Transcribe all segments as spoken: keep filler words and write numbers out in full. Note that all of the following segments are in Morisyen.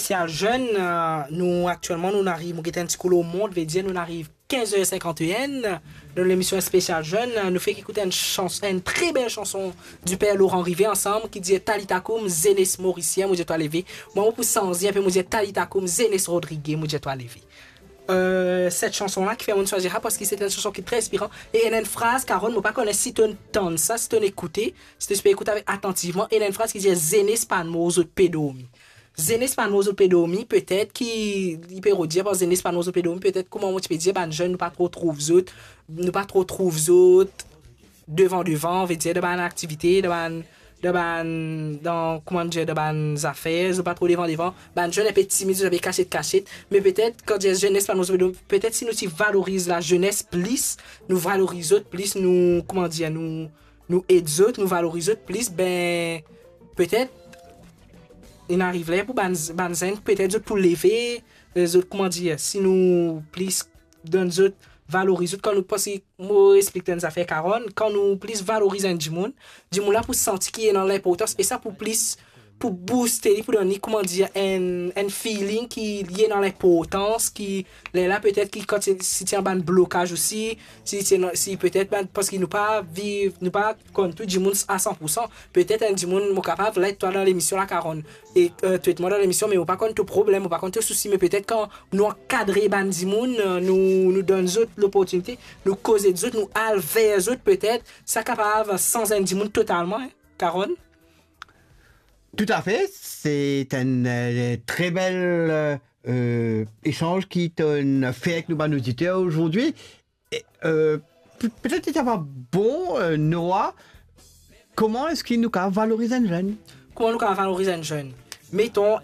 Spesial Zenn, euh, nou aktielman, nou ariv, mo get enn ti kou lor mont, vedir nou ariv kinz er sinkant-e-enn. Dan lemision Spesial Zenn, euh, nou fek ekout enn sans-, enn tre bel sanson di per Laurent Rivet ansam ki dir Talitha Koum, Zenes Morisien, mo dir twa leve. Mwa, mo pou sanze enpe, mo dir Talitha Koum, Zenes Rodrige, mo dir twa leve. Euh, set sanson la ki fer monn swazir sa, parski se enn sanson ki tre inspiran. E ena enn fraz, Carole, mo pa kone si to'nn tann sa, si to'nn ekoute, si to ti pe ekout avek atantivman, ena enn fraz ki dir, "Zenes pa'nn mor, zot pe dormi." Zenes pa'nn mor, zot pe dormi, petet ki, li pe redir par zenes pa'nn mor, zot pe dormi, petet kouma mo ti pe dir, bann zenn, nou pa tro trouv zot, nou pa tro trouv zot devan devan, vedir dan bann aktivite, dan bann, dan bann, dan, kouma dir, dan bann zafer, zot pa tro devan devan. Bann zenn enpe timid, zot enpe kasiet kasiet. Me petet, kan dir zenes pa'nn mor, zot pe dormi, petet si nou ti valoriz lazenes plis, nou valoriz zot plis, nou, kouma dir, nou, nou ed zot, nou valoriz zot plis, be, petet, inn ariv ler pou bann, bann zenn, petet zot pou leve, eh, zot, kouma dir, si nou plis donn zot, valoriz zot, kan nou, parski mo explik twa enn zafer, Carole, kan nou plis valoriz enn dimoun, dimoun la pou santi ki li ena linportans, e sa pou plis, pou booste li, pou donn li, kouma dir, enn, enn feeling ki li ena linportans, ki, lerla petet ki kan ti, si ti ena bann blokaz osi, si ti ena, si petet bann, parski nou pa viv, nou pa konn tou dimoun a san pou san. Petet enn dimoun, mo kapav let twa dan lemision la, Carole, e, eh, to et mwa dan lemision, me mo pa konn to problem, mo pa konn to sousi, me petet kan nou ankadre bann dimoun, eh, nou, nou donn zot loportinite, nou koze zot, nou al ver zot, petet sa kapav sanz enn dimoun totalman, hein, Carole. Toutafe, se enn, eh, tre bel, eh, esanz ki to'nn fer ek nou bann oditer azordi. E, eh, pe-, petet li ti ava bon, eh, Noah, kouma eski nou kapav valoriz enn zenn? Kouma nou kapav valoriz enn zenn? Meton,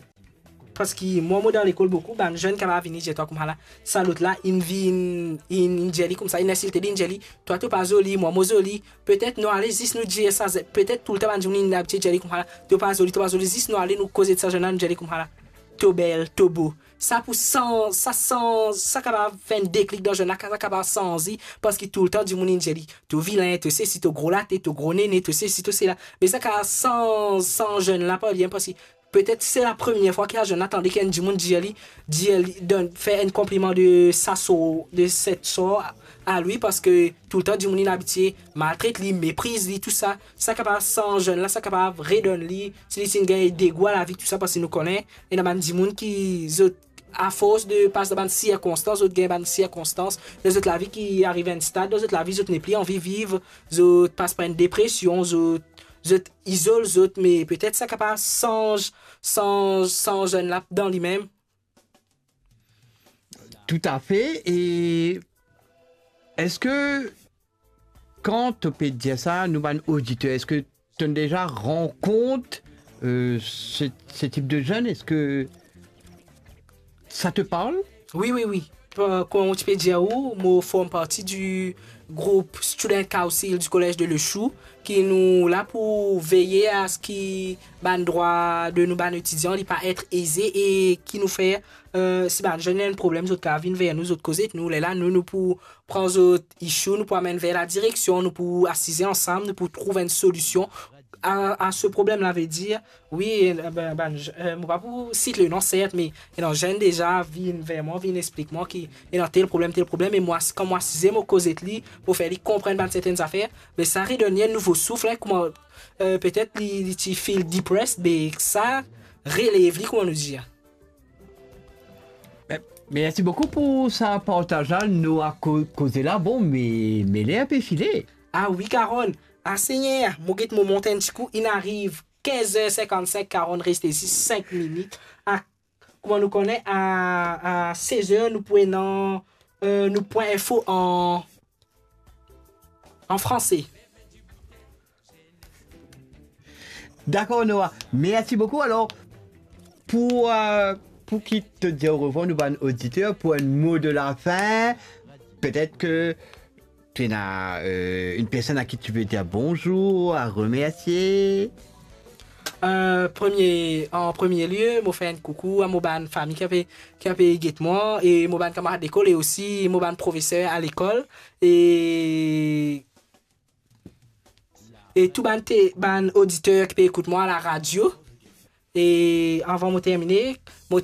parski mwa, mo dan lekol boukou, bann zenn kapav vini dir twa koumsa la, sa lot la, inn vinn, inn, inn dir li koumsa, inn insilte li, inn dir li, "Twa, to pa zoli, mwa, mo zoli." Petet nou ale zis nou dir sa, petet toultan bann dimoun inn abitie dir li koumsa la, "To pa zoli, to pa zoli." Zis nou ale, nou koze sa zenn la, nou dir li koumsa la, "To bel, to bo." Sa pou sanz, sa sanz, sa kapav fer enn deklik dan zenn la, sa kapav sanz li, parski toultan dimoun inn dir li, "To vilin, to sesi, to gro latet, to gro nene, to sesi, to sela." Me sa kapav sanz, sanz zenn la par li, parski petet se la premie fwa ki sa zenn la tande ki enn dimoun dir li, dir li, donn, fer enn konpliman de sa sor, de set sor a, a li, parski toultan dimoun inn abitie maltret li, mepriz li, tou sa. Sa kapav sanz zenn la, sa kapav redonn li, si li ti gagn degou a lavi, tou sa, parski nou kone, ena bann dimoun ki zot, afors de pas dan bann sirkonstans, zot gagn bann sirkonstans dan zot lavi ki ariv enn stad dan zot lavi, zot nepli anvi viv, zot pas par enn depresion, zot, zot izol zot, me petet sa kapav sanz, sanz, sanz zenn la dan limem. Toutafe. E eski, kan to pe dir sa, nou bann oditer, eski to'nn deza rankont, eh, se, se tip de zenn? Eski sa te parl? Wi, wi, wi. Pa-, kouma mo ti pe dir ou, mo form parti di group Student Council du Collège de Lechou, ki nou la pou veye a se ki bann drwa de nou bann etidian li pa et eze e ki nou fer, eh, si bann zenn ena enn problem, zot kapav vinn ver nou, zot koze ek nou, lerla nou, nou pou pran zot issue, nou pou amenn ver ladireksion, nou pou asize ansam, nou pou trouv enn solision a, a se problem la, vedir, wi, eh, ben, bann, eh, mo pa pou sit le non, sert, me ena zenn deza vinn ver mwa, vinn explik mwa ki ena tel problem, tel problem, e mwa, kan mo asize, mo koze ek li, mo fer li konprann bann sertenn zafer, me sa redonn li enn nouvo souf, hein, kouma, eh, petet li, li ti feel depressed, me sa relev li, kouma nou dir. Me-, mersi boukou pou sa partaz la, nou a ko-, koze la, bon, me, me ler pe file. Ah wi, Carole. Ah, Segner, mo get mo mont enn ti kou, inn ariv kinz er sinkant-sink, Carole, reste zis sink minit. Ah, kouma nou kone, a, a sez er, nou pou ena, eh, nou pwin info an, an franse. Dakor, Noah. Mersi boukou. Alor, pou, eh, pou ki to dir orevwar nou bann oditer, pou enn mo de la fin, petet ki to ena, eh, enn personn a ki to pe dir bonzour, a remersie. Eh, premie, an premie lie, mo fer enn koukou a mo bann fami ki ape, ki ape get mwa, e mo bann kamarad lekol, e osi mo bann profeser a lekol, e, e tou bann te-, bann oditer ki pe ekout mwa a laradio. E avan mo termine, mo ti